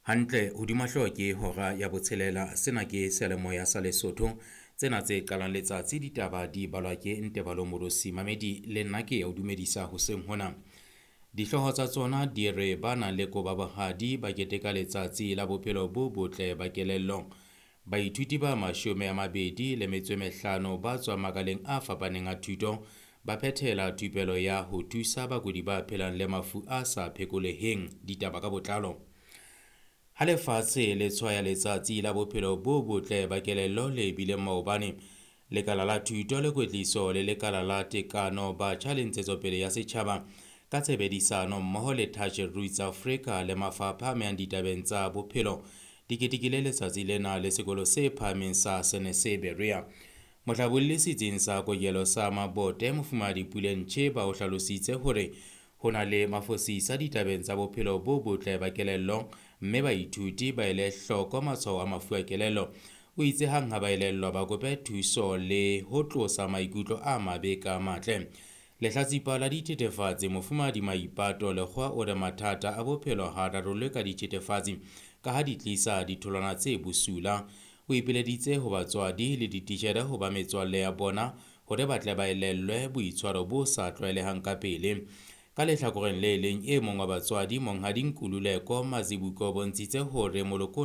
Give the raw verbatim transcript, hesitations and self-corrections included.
Hantle hodima hlooho ke hora ya botshelela. Sena ke seyalemoya sa Lesotho. Tsena tse qalang letsatsi ditaba di balwa ke Ntebalo Morosi. Mamedi le nna ke ya o dumedisa hoseng hona. Dihlooho tsa tsona di re ba nang le koba bohadi ba keteka letsatsi la bophelo bo botle ba kelello. Baithuti ba mashome a mabedi le metso e mehlano ba tswang makaleng a fapaneng a thuto ba phethela thupelo ya ho thusa bakudi ba phelang le mafu a sa phekoleheng. Ditaba ka botlalo. Ha lefatshe le tshwaya letsatsi la bophelo bo botle ba kelello le bileng maobane, Lekala la Thuto le Kwetliso le Lekala la Tekano Batjha le Ntshetsopele ya Setjhaba ka tshebedisano mmoho le Touch Roots Africa le mafapha a amehang ditabeng tsa bophelo di ketekile letsatsi lena le sekolo se phahameng sa Senese Berea. Mohlabolli setsing sa kokelo sa Mabote Mofumahadi Puleng Tjheba o hlalositse hore ho na le mafosisa ditabeng tsa bophelo bo botle ba kelello mme baithuti ba ele hloko matshwao a mafu a kelello. O itse hang ha ba elellwa ba kope thuso le ho tlosa maikutlo a mabe ka matle. Lehlatsipa la dithethefatsi Mofumahadi Maipato Lekgowa o re mathata a bophelo ha a rarollwe ka dithethefatsi ka ha di tlisa ditholwana tse bosula. O ipileditse ho batswadi le dititjhere ho ba metswalle ya bona hore ba tle ba elellwe boitshwaro bo sa tlwaelehang ka pele. Ka lehlakoreng le leng, e mong wa batswadi Monghadi Nkululeko Mazibuko o bontshitse hore moloko